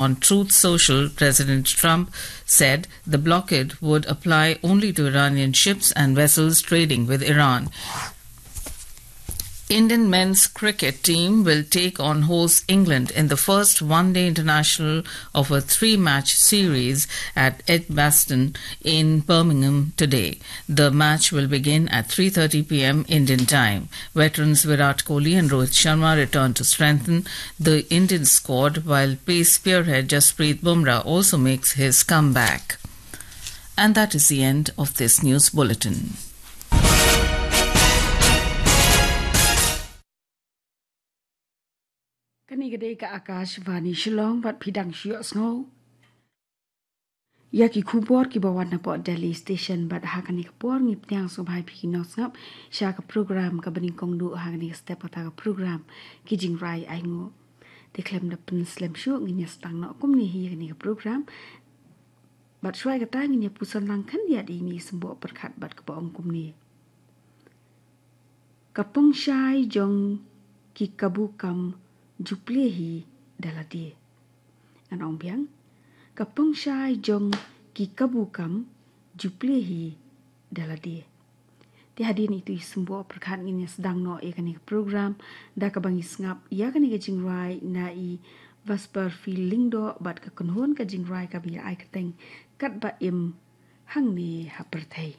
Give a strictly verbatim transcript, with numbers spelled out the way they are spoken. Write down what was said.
On Truth Social, President Trump said the blockade would apply only to Iranian ships and vessels trading with Iran. Indian men's cricket team will take on host England in the first one-day international of a three-match series at Edgbaston in Birmingham today. The match will begin at three thirty p m Indian time. Veterans Virat Kohli and Rohit Sharma return to strengthen the Indian squad, while pace spearhead Jasprit Bumrah also makes his comeback. And that is the end of this news bulletin. Kane ka dei ka Akashvani Shillong, bad phi dang shu ïohsngew ïa ki khubor kiba wan napoh Delhi Station, bad ha kane ka por ngi pdiang sngewbha ïa phi ki nongsngap sha ka program kaba nyngkong duh ha kane ka step, kata ka program Ki Jingrai Ainguh. Te khlem da pynslem shuh, ngin ïa sdang noh kumne hi ïa kane ka program. Bad shuwa kata ngin ïa puson lang khyndiat ïa ine i symboh pyrkhat bad kaba ong kumne: Ka pongshai jong ki kabu kam ju plie hi da lade. Ngan ong biang: Ka pongshai jong ki kabu kam ju plie hi da lade. Te hadien ito i symboh pyrkhat ngin ïa sdang noh ïa kane ka program da kaba ngi sngap ïa kane ka jingrai na i Vesper Phil Lyngdoh bad ka kynhun ka jingrai kaba ïa ai kyrteng Katba Im Hangne Ha Pyrthei.